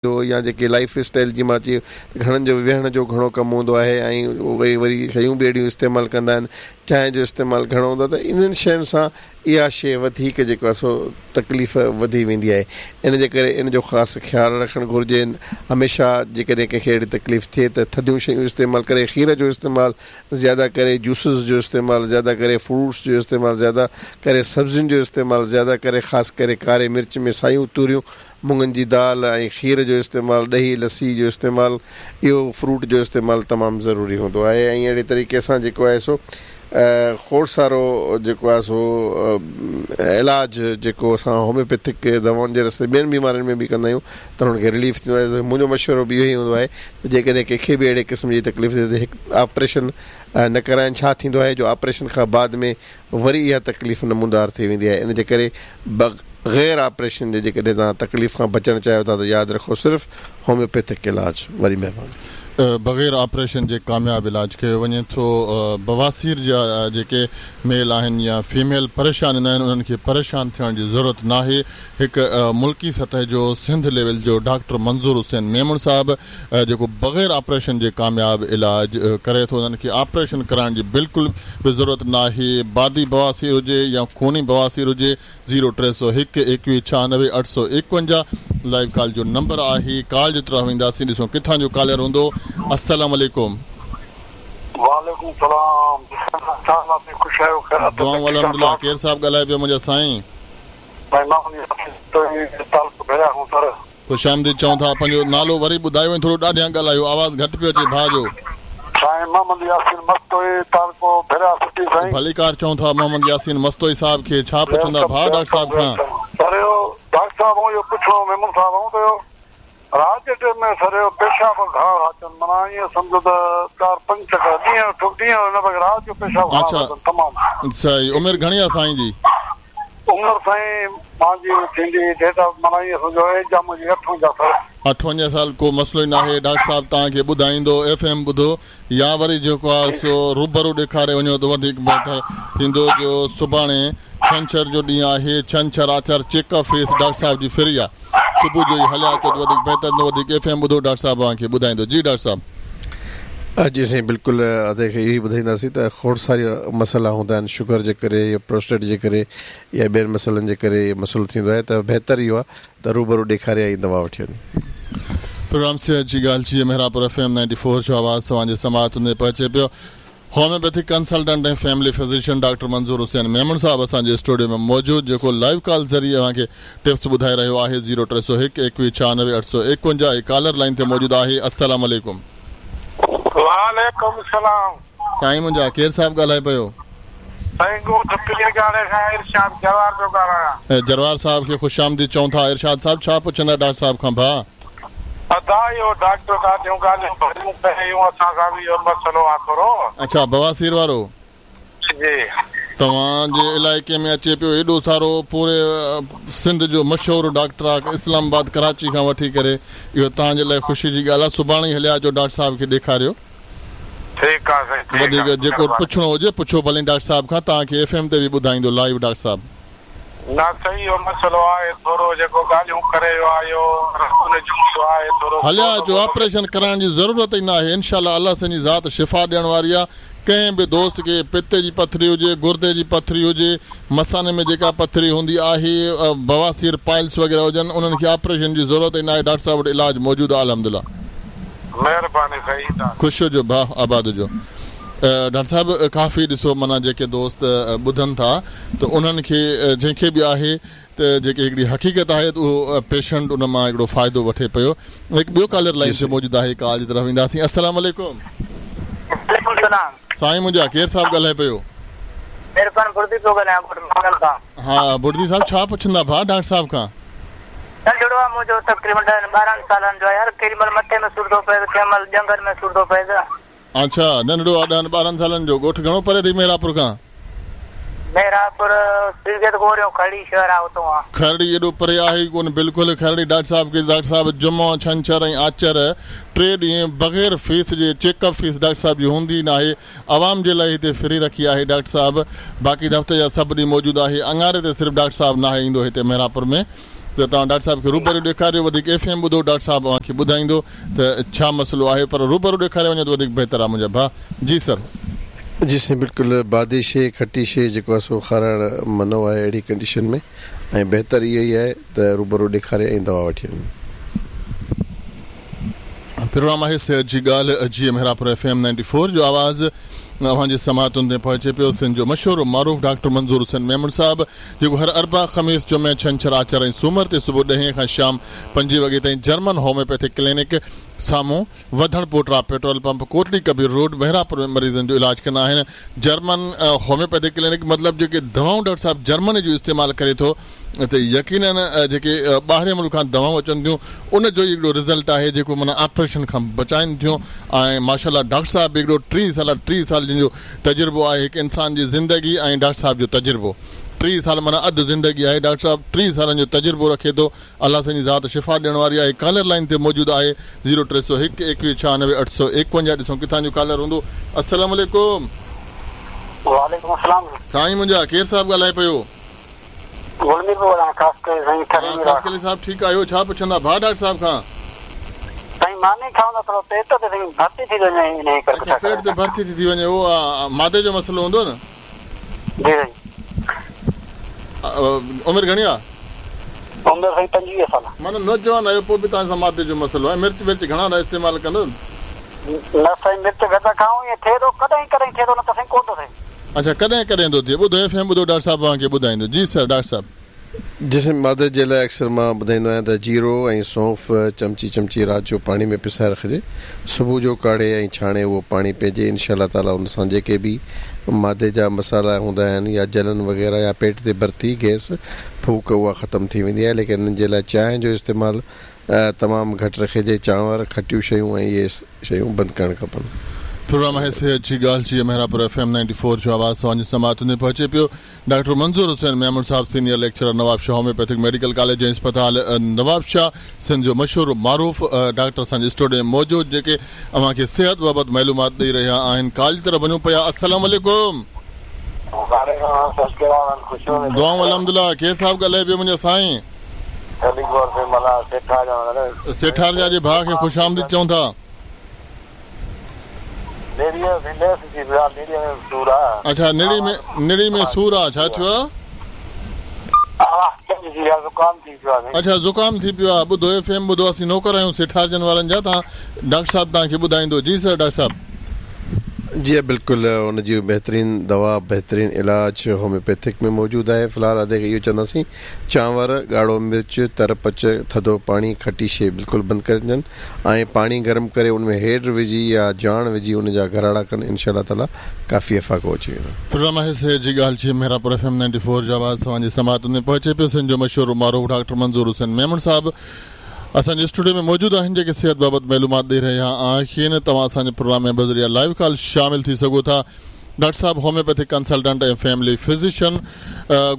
جو يا جيڪي لائيف اسٽائيل جي مان چيو ته گهڻن جو ويهڻ جو گهڻو ڪم هوندو آهي ۽ اهي وري شيون به اهڙيون استعمال ڪندا آهن چانهه جو استعمال گهڻو هوندو آهي ته انهن شين سان اها شيء وڌيڪ جيڪو آهي سو تڪليف وڌي ويندي آهي ان جي ڪري ان جو خاص خيال رکڻ گهرجي هميشه جيڪڏهن ڪنهن کي اهڙي تڪليف ٿئي ته ٿڌيون شيون استعمال ڪري کير جو استعمال زياده ڪري جوسز جو استعمال زياده ڪري فروٽس جو استعمال زياده ڪري سبزين جو استعمال زياده ڪري خاص ڪري ڪاري مرچ ۾ سايون توريون مڱن جي دال ۽ کير جو استعمال، ڏهي لسي جو استعمال، اهو فروٽ جو استعمال تمام ضروري هوندو آهي ۽ اهڙي طريقي سان جيڪو آهي سو کوڙ سارو جيڪو آهي سو علاج جيڪو اسان هوميوپيٿڪ دوائن جي رستي ٻين بيمارين ۾ به ڪندا آهيون ته انهن کي رليف ٿيندو آهي منهنجو مشورو به اهو ئي هوندو آهي ته جيڪڏهن ڪنهن کي به اهڙي قسم جي تڪليف ٿئي ته هڪ آپريشن نه ڪرائين ڇا ٿيندو آهي جو آپريشن کان بعد ۾ وري اها تڪليف نمودار ٿي ويندي آهي ان جي ڪري بغير آپريشن جي جيڪڏهن توهان تڪليف کان بچڻ چاهيو ٿا ته ياد رکو صرف هوميوپيٿڪ علاج وڏي مهرباني. بغير آپريشن جي ڪامياب علاج ڪيو وڃي ٿو بواسير جا جيڪي ميل آهن يا فيميل پريشان هوندا آهن انهن کي پريشان ٿيڻ جي ضرورت ناهي هڪ ملڪي سطح جو سنڌ ليول جو ڊاڪٽر منظور حسين ميمڻ صاحب جيڪو بغير آپريشن جي ڪامياب علاج ڪري ٿو انهن کي آپريشن ڪرائڻ جي بلڪل به ضرورت ناهي بادي بواسير هجي يا خوني بواسير هجي زيرو 301 21 96 851 لائيو ڪال جو نمبر آهي ڪال جي طرف وينداسين ڏسون ڪٿان جو ڪالر هوندو السلام عليڪم. وعليڪم السلام ڇا حال آ خوش آهيو خير آ دعائون الحمدلله ڪير صاحب ڳالهائي پيو منهنجا سائين. سائين مان تعلقو ڀيرا کان سر. خوش آمديد چئون ٿا پنهنجو نالو وري ٻڌايو ۽ ٿورو ڏاڍيان ڳالهايو آواز گهٽ پيو اچي ڀاء جو. سائين محمد ياسين مستوئي تعلقو ڀيرا سٽي سائين. ڀليڪار چئون ٿا محمد ياسين مستوئي صاحب کي ڇا پڇندا ڀاء ڊاڪٽر صاحب کان. سر اهو ڊاڪٽر صاحب آئون اهو پڇڻو هو ميمڻ صاحب آئون ته اهو رات جي ٽيم ۾ سر اهو پيشاب گهڻا ٿا اچن معنيٰ ائين سمجهو ته چار پنج چڪر ڏينهن جو ڏينهن جو نه بلڪه رات جو پيشاب گهڻا ٿا اچن تمام. اڇا عمر گهڻي آ سائين جي. عمر سائين مانجي ٿيندي ڊيٽ آف معنيٰ ائين سمجهو ايج آ منهنجي 58 سال. 58 سال ڪو مسئلو ئي ناهي ڊاڪٽر صاحب توهان کي ٻڌائيندو ايف ايم ٻڌو يا وري جيڪو آ سو روبرو ڏيکاري وڃو ته وڌيڪ بهتر ٿيندو جو سڀاڻي ڇنڇر جو ڏينهن آهي ڇنڇر آچر چيڪ اپ فيس ڊاڪٽر صاحب جي فري آ صبح جو ئي هليا اچو ته وڌيڪ بهتر ٿيندو وڌيڪ ايف ايم ٻڌو ڊاڪٽر صاحب اوهان کي ٻڌائيندو جي ڊاڪٽر صاحب. جي سائين بلڪل ادي کي اهو ئي ٻڌائينداسين ته کوڙ سارا مسئلا هوندا آهن شگر جي ڪري يا پروسٽيٽ جي ڪري يا ٻين مسئلن جي ڪري اهو مسئلو ٿيندو آهي ته بهتر اهو آهي ته روبرو ڏيکاري ۽ دوا وٺي وڃي. پروگرام صحت جي ڳالهه جيئي Mehrabpur F M ninety four جو آواز توهان جي سماعتن ۾ پهچي پيو. Homeopathic consultant ۽ family physician doctor Manzoor Hussain Memon صاحب اسان جي اسٽوڊيو ۾ موجود جيڪو لائيو ڪال ذريعي اوهان کي ٽپس ٻڌائي رهيو آهي زيرو 301 21 96 851 هي ڪالر لائين تي موجود آهي السلام عليڪم. وعليڪم السلام. سائين منهنجا ڪير صاحب ڳالهائي پيو. سائين ڳوٺ پيرڳاڙي کان ارشاد جروار پيو ڳالهايان. جروار صاحب کي خوش آمديد چئون ٿا ارشاد صاحب ڇا پڇندا ڊاڪٽر صاحب کان ڀاء. ادا اهو ڊاڪٽر ڏاڍيون ڳالهيون ڀليون ڪيون اسان سان به اهو مسئلو آ ٿورو. اڇا بواسير وارو. جي. توهان جي علائقي ۾ اچي پيو ايڏو سارو پوري سنڌ جو مشهور ڊاڪٽر آ اسلام آباد ڪراچي کان وٺي ڪري اهو توهان جي لاء خوشي جي ڳالهه آ سڀاڻي ئي هليا اچو ڊاڪٽر صاحب کي ڏيکاريو. ٺيڪ آ سائين ٺيڪ آ وڌيڪ جيڪو پڇڻو هجي پڇو ڀلي ڊاڪٽر صاحب کان توهان کي ايف ايم تي به ٻڌائيندو لائيو ڊاڪٽر صاحب. نه سائين اهو مسئلو آهي ٿورو جيڪو ڳالهيون ڪري ويو آهي اهو رت نه جوڙيو آهي ٿورو هليا اچو آپريشن ڪرائڻ جي ضرورت ئي ناهي انشاء الله الله سائين جي ذات شفا ڏيڻ واري آ ڪنهن به دوست کي پتي جي پٿري هجي گردي جي پٿري هجي مثاني ۾ جيڪا پٿري هوندي آهي بواسير پائلس وغيره هجن انهن کي آپريشن جي ضرورت ئي ناهي ڊاڪٽر صاحب وٽ علاج موجود آ الحمدلله. مهرباني سائين. خوش هجو ڀاء آباد هجو. ڊاڪٽر صاحب ڪافي ڏسو معنيٰ جيڪي دوست ٻڌن ٿا ته انهن کي جنهن کي به آهي ته جيڪي هڪڙي حقيقت آهي ته اهو پيشنٽ ان مان هڪڙو فائدو وٺي پيو هڪ ٻيو ڪالر لائين تي موجود آهي ڪال جي طرف وينداسين السلام عليڪم. وعليڪم السلام. سائين منهنجا ڪير صاحب ڳالهائي پيو. عرفان بڙدي پيو ڳالهايان ڳوٺ مانگل کان. ها بڙدي صاحب ڇا پڇندا ڀاء ڊاڪٽر صاحب کان. ننڍڙو آ منهنجو تقريبن ڏهن ٻارهن سالن جو آهي يار ڪيڏي مهل مٿي ۾ سور ٿو پئي ته ڪنهن مهل ڄنگهن ۾ سور ٿو پئي ته. اڇا ننڍڙو آ ڏهن ٻارهن سالن جو ڳوٺ گهڻو پري اٿئي محرابپور کان. محرابپور سرگيت گوريون کرڙي شهر آ اتون آ. کرڙي ايڏو پري آهي ئي ڪونه بلڪل کرڙي ڊاڪٽر صاحب کي ڊاڪٽر صاحب جمعو ڇنڇر ۽ آچر ٽي ڏينهن بغير فيس جي چيڪ اپ فيس ڊاڪٽر صاحب جي هوندي ئي ناهي عوام جي لاء هتي فري رکي آهي ڊاڪٽر صاحب باقي هفتي جا سڀ ڏينهن موجود آهي اڱاري تي صرف ڊاڪٽر صاحب ناهي ايندو هتي محرابپور ۾ ته. ته توهان ڊاڪٽر صاحب کي روبرو ڏيکاريو وڌيڪ ايف ايم ٻڌو ڊاڪٽر صاحب اوهان کي ٻڌائيندو ته ڇا مسئلو آهي پر روبرو ڏيکاري وڃو ته وڌيڪ بهتر آهي منهنجا ڀاء جي سر. جي سائين بلڪل بادي شي کٽي شي جيڪو آهي سو کارائڻ منع آهي اهڙي ڪنڊيشن ۾ ۽ بهتر اهو ئي آهي ته روبرو ڏيکاري ۽ دوا وٺي وڃي. پروگرام آهي صحت جي ڳالهه جي محرابپور ايف ايم 94 جو آواز اوهان جي سماعتن تائين پهچي پيو سنڌ جو مشهور و معروف ڊاڪٽر منظور حسين ميمڻ صاحب جيڪو هر اربع، خميس، جمعي، ڇنڇر، آچر ۽ سومر تي صبح ڏهين کان شام پنجين وڳي تائين جرمن هوميوپيٿڪ ڪلينڪ سامهون وڌڻ پوٽرا petrol pump Kotri Kabir road Mehrapur ۾ مريضن جو علاج ڪندا آهن جرمن هوميوپيٿڪ ڪلينڪ مطلب جيڪي دوائون ڊاڪٽر صاحب جرمني جو استعمال ڪري ٿو ته يقينن جيڪي ٻاهرين ملڪ کان دوائون اچن ٿيون ان جو ئي هڪڙو رزلٽ آهي جيڪو معنيٰ آپريشن کان بچائن ٿيون ۽ ماشاء الله ڊاڪٽر صاحب به هڪڙو ٽيهه سال ٽيهه سال جن جو تجربو آهي هڪ انسان جي زندگي ۽ ڊاڪٽر صاحب جو تجربو ٽيهه سال معنيٰ اڌ زندگي آهي ڊاڪٽر صاحب ٽيهه سالن جو تجربو رکي ٿو الله سائين جي ذات شفا ڏيڻ واري آهي ڪالر لائين تي موجود آهي زيرو 301 21 96 851 ڏسون ڪٿان جو ڪالر هوندو السلام عليڪم. وعليڪم السلام. سائين منهنجا ڪير صاحب ڳالهائي پيو. گل مير پيو ڳالهايان خاصخيلي سائين ٺري ها خاصخيلي صاحب ٺيڪ آهيو ڇا پڇندا ڀاء ڊاڪٽر صاحب کان. سائين ماني کائون ته ٿورو پيٽ تي سائين ڀرتي ٿي ٿو وڃي انهي ڪري اڇا پڇا پيٽ ڪريان تي ڀرتي ٿي ٿي وڃي اهو معدي جو مسئلو هوندو نه. جي سائين. عمر گهڻي آ. عمر سائين 25 سال. معنيٰ نوجوان آهيو پوء به توهان سان معدي جو مسئلو آهي مرچ ورچ گهڻا ٿا استعمال ڪندو. نه سائين مرچ گهٽ ٿا کائون ائين ٿئي ٿو ڪڏهن ڪڏهن ٿئي ٿو نه ته سائين ڪونه ٿو ٿئي. اڇا ڪڏهن ڪڏهن ٿو ٿئي ٻڌو ايف ايم ٻڌو ڊاڪٽر صاحب اوهان کي ٻڌائيندو جي سر ڊاڪٽر صاحب. جسم معدي جي لاء اڪثر مان ٻڌائيندو آهيان ته جيرو ۽ سونف چمچي چمچي رات جو پاڻي ۾ پسائي رکجي صبح جو ڪاڙهي ۽ ڇاڻي اهو پاڻي پيئجي انشاء الله تعالي ان سان جيڪي به معدي جا مسئلا هوندا آهن يا جلن وغيره يا پيٽ تي ڀرتي گئس ڦوڪ اها ختم ٿي ويندي آهي ليڪن انهن جي لاء چانهه جو استعمال تمام گهٽ رکجي، چانور، کٽيون شيون ۽ اهي شيون بند ڪرڻ کپن. پروگرام آهي صحت جي ڳالهه جي Mehrabpur F M ninety four جو آواز اوهان جي سماعتن تائين پهچي پيو ڊاڪٽر منظور حسين ميمڻ صاحب senior lecturer Nawabshah homeopathic medical college ۽ اسپتال نوابشاهه سنڌ جو مشهور معروف ڊاڪٽر اسان جي اسٽوڊيو ۾ موجود جيڪي اوهان کي صحت بابت معلومات ڏئي رهيا آهن ڪال جي طرف وڃون پيا السلام عليڪم. دعائون الحمدلله ڪير صاحب ڳالهائي پيو منهنجا سائين. سيٺارجا جي ڀاء کي خوش آمديد چئون ٿا. اڇا نڙي ۾ نڙي ۾ سور آ ڇا ٿيو آ. اڇا زڪام ٿي پيو آ ٻڌو ايف ايم ٻڌو اسين نوڪر آهيون سيٺارجن وارن جا تان ڊاڪٽر صاحب توهان کي ٻڌائيندو جي سر ڊاڪٽر صاحب. جي بلڪل ان جي بهترين دوا بهترين علاج هوميوپيٿڪ ۾ موجود آهي في الحال ادي کي اهو چونداسين چانور، ڳاڙهو مرچ، تر پچ، ٿڌو پاڻي، کٽي شيء بلڪل بند ڪري ڏين ۽ پاڻي گرم ڪري ان ۾ هيڊ وجهي يا جاڻ وجهي ان جا گهراڙا ڪن انشاء الله تعالي ڪافي افاقو اچي ويندو. پروگرام آهي صحت جي ڳالهه جي Mehrabpur F M ninety four جو آواز اوهان جي سماعتن تائين پهچي پيو سنڌ جو مشهور و معروف ڊاڪٽر منظور حسين ميمڻ صاحب اسان جي اسٽوڊيو ۾ موجود آهن جيڪي صحت بابت معلومات ڏئي رهيا آهن توهان اسان جي پروگرام ۾ بذريعه لائيو ڪال شامل ٿي سگهو ٿا ڊاڪٽر صاحب هوميوپيٿڪ ڪنسلٽنٽ ۽ فيملي فزيشن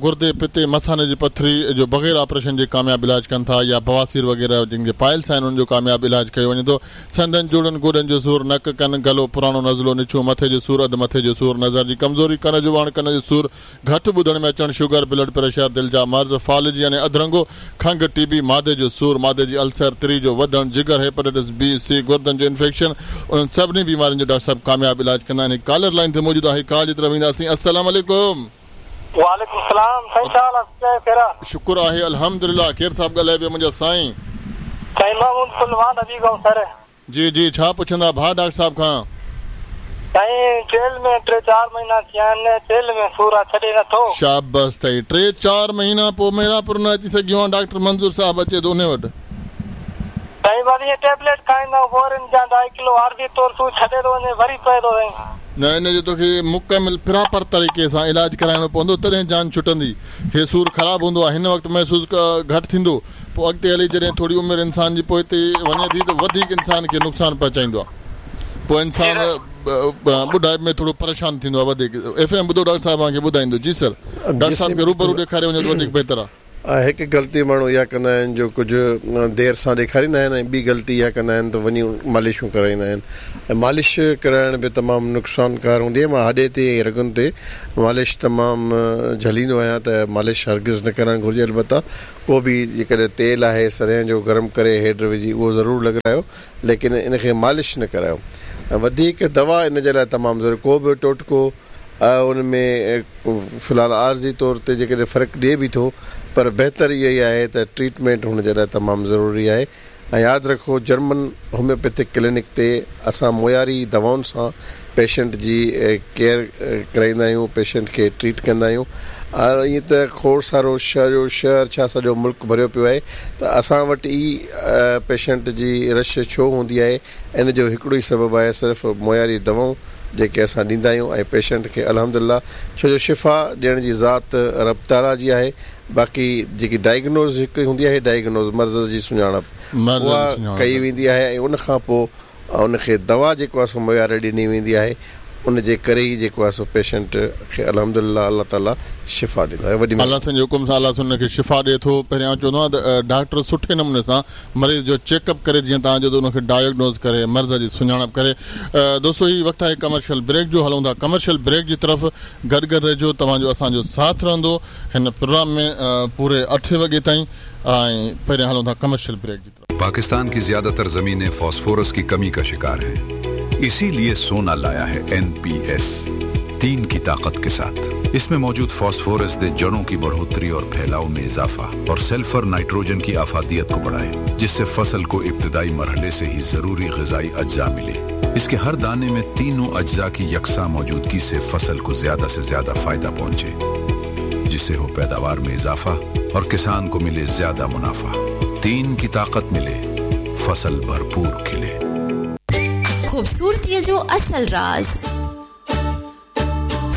گردي، پتي، مثاني جي پٿري جو بغير آپريشن جي ڪامياب علاج ڪن ٿا يا بواسير وغيره جن کي پائلس آهن انهن جو ڪامياب علاج ڪيو وڃي ٿو. سنڌن، جوڙن، گوڏن جو سور، نڪ، ڪن، گلو، پراڻو نزلو، نڇون، مٿي جو سور، اڌ مٿي جو سور، نظر جي ڪمزوري، ڪن جو وهڻ، ڪن جو سور، گهٽ ٻڌڻ ۾ اچڻ، شگر، بلڊ پريشر، دل جا مرض، فالج يعني اڌرنگو، کنگهه، ٽي بي، معدي جو سور، معدي جي السر، تري جو وڌڻ، جگر، هيپاٽائٽس بي، سي، گردن جو انفيڪشن، انهن سڀني بيمارين جو ڊاڪٽر صاحب ڪامياب علاج ڪندا آهن. هڪ ڪالر لائين تي موجود آهي ڪال جي طرف وينداسين. السلام عليڪم. وعليڪم السلام سائين ڇا حال آ سچ خير آ. شڪر آهي الحمدلله ڪير صاحب ڳالهائي پيو منهنجا سائين. سائين محمود پهلوان نبي گائون سر. جي جي ڇا پڇندا ڀاء ڊاڪٽر صاحب کان. سائين چيلهه ۾ ٽي چار مهينا ٿيا آهن چيلهه ۾ سور آ ڇڏي نه ٿو. شابس اٿئي ٽي چار مهينا پوء مهراپور نه اچي سگهيو آن ڊاڪٽر منظور صاحب اچي ٿو انهي وٽ. سائين بس ائين ٽيبليٽ کائيندا آهيون فورن جا ڍائي ڪلو عارضي طور سور ڇڏي ٿو وڃي وري پئي ٿو سائين. نه ان جو توکي مڪمل پراپر طريقي سان علاج ڪرائڻو پوندو تڏهن جان ڇٽندي هي سور خراب هوندو آهي هن وقت محسوس گهٽ ٿيندو پوء اڳتي هلي جڏهن ٿوري عمر انسان جي پوئتي وڃي ٿي ته وڌيڪ انسان کي نقصان پهچائيندو آهي پوء انسان ٻڍائپ ۾ ٿورو پريشان ٿيندو آهي وڌيڪ ايف ايم ٻڌو ڊاڪٽر صاحب اوهان کي ٻڌائيندو جي سر ڊاڪٽر صاحب کي روبرو ڏيکاري وڃو ته وڌيڪ بهتر آهي. هڪ غلطي ماڻهو اها ڪندا آهن جو ڪجهه دير سان ڏيکاريندا آهن ۽ ٻي غلطي اها ڪندا آهن ته وڃي مالشون ڪرائيندا آهن ۽ مالش ڪرائڻ به تمام نقصانڪار هوندي آهي مان هڏي تي ۽ رڳن تي مالش تمام جهليندو آهيان ته مالش هرگز نه ڪرائڻ گهرجي البته ڪو به جيڪڏهن تيل آهي سرنهن جو گرم ڪري هيڊ وجهي اهو ضرور لڳرايو ليڪن ان کي مالش نه ڪرايو ۽ وڌيڪ دوا ان جي لاء تمام ضروري ڪو به ٽوٽڪو ان ۾ في الحال عارضي طور تي جيڪڏهن فرق ڏئي به ٿو پر بهتر اهو ئي آهي ته ٽريٽمينٽ هن جي لاء تمام ضروري آهي ۽ ياد رکو جرمن هوميوپيٿڪ ڪلينڪ تي اسان معياري دوائن سان پيشنٽ جي ڪيئر ڪرائيندا آهيون پيشنٽ کي ٽريٽ ڪندا آهيون ائين ته کوڙ سارو سڄو شهر ڇا سڄو ملڪ ڀريو پيو آهي ته اسان وٽ ئي پيشنٽ جي رش ڇو هوندي آهي ان جو هڪڙو ئي سبب آهي صرف معياري دوائون جيڪي اسان ڏيندا آهيون ۽ پيشنٽ کي الحمدلله ڇو جو شفا ڏيڻ جي ذات رب تعاليٰ جي آهي باقي جيڪي ڊائگنوز هڪ هوندي آهي ڊائگنوز مرض جي سڃاڻپ اها ڪئي ويندي آهي ۽ ان کان پوء ان کي دوا جيڪو آهي سو معياري ڏني ويندي آهي ان جي ڪري ئي جيڪو آهي سو پيشنٽ کي الحمدلله الله تعاليٰ شفا ڏيندو آهي وڏي الله سائين جي حڪم سان الله سائين ان کي شفا ڏئي ٿو پهريان آئون چوندو آهيان ته ڊاڪٽر سٺي نموني سان مريض جو چيڪ اپ ڪري جيئن توهان چيو ته ان کي ڊائگنوز ڪري مرض جي سڃاڻپ ڪري دوستو هي وقت آهي ڪمرشل بريڪ جو هلون ٿا ڪمرشل بريڪ جي طرف گڏ گڏ رهجو توهان جو اسان جو ساٿ رهندو هن پروگرام ۾ پوري اٺين وڳي تائين ۽ پهريان هلون ٿا ڪمرشل بريڪ جي طرف. پاڪستان ڪي زياده تر زمينين فاسفورس ڪي ڪمي ڪا شڪار هين اسی لئي سونا لايا هي اين پي ايس تين ڪي طاقت ڪي ساٿ اس مين موجود فاسفورس the جڙون ڪي بڙهوتري اور ڦهلاء مين اضافه اور سلفر نائٽروجن ڪي افاديت ڪو بڙهائي جس سي فصل ڪو ابتدائي مرحلي سي هي ضروري غذائي اجزا ملي اس ڪي هر داني مين تينون اجزا ڪي يڪساں موجودگي سي فصل ڪو زياده سي زياده فائده پهنچي جس سي هو پيداوار مين اضافه اور ڪسان ڪو ملي زياده منافع تين ڪي طاقت ملي فصل ڀرپور کلي. خوبصورتيء جو اصل راز.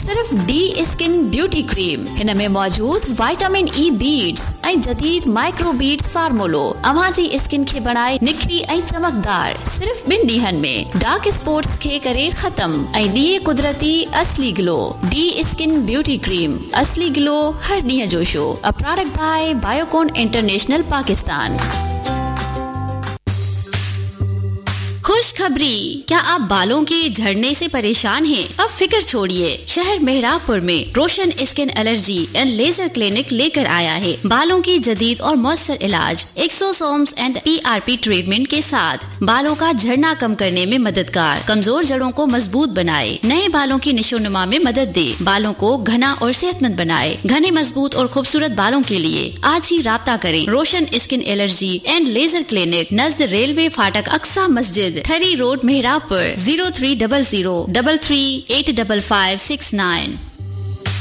صرف ڊي اسڪن بيوٽي ڪريم هن ۾ موجود وائٽامن اي بيڊز ۽ جديد مائڪرو بيڊز فارمولو اوهان جي اسڪن کي بڻائي نکري ۽ چمڪدار صرف ٻن ڏينهن ۾ ڊارڪ اسپاٽس کي ڪري ختم ۽ ڏئي قدرتي اصلي گلو ڊي اسڪن بيوٽي ڪريم اصلي گلو هر ڏينهن جو show a product by Biocon international Pakistan. खुशखबरी क्या आप बालों के झड़ने से परेशान हैं? अब फिक्र छोड़िए शहर मेहराबपुर में Roshan skin allergy and laser clinic लेकर आया है बालों की जदीद और मौसर इलाज exosomes and PRP treatment के साथ बालों का झड़ना कम करने में मददगार कमजोर जड़ों को मजबूत बनाए नए बालों की निशोनुमा में मदद दे बालों को घना और सेहतमंद बनाए घने मजबूत और खूबसूरत बालों के लिए आज ही राब्ता करें Roshan skin allergy and laser clinic नज़द रेलवे फाटक अक्सा मस्जिद Thari road Mehrabpur 0300 3385569।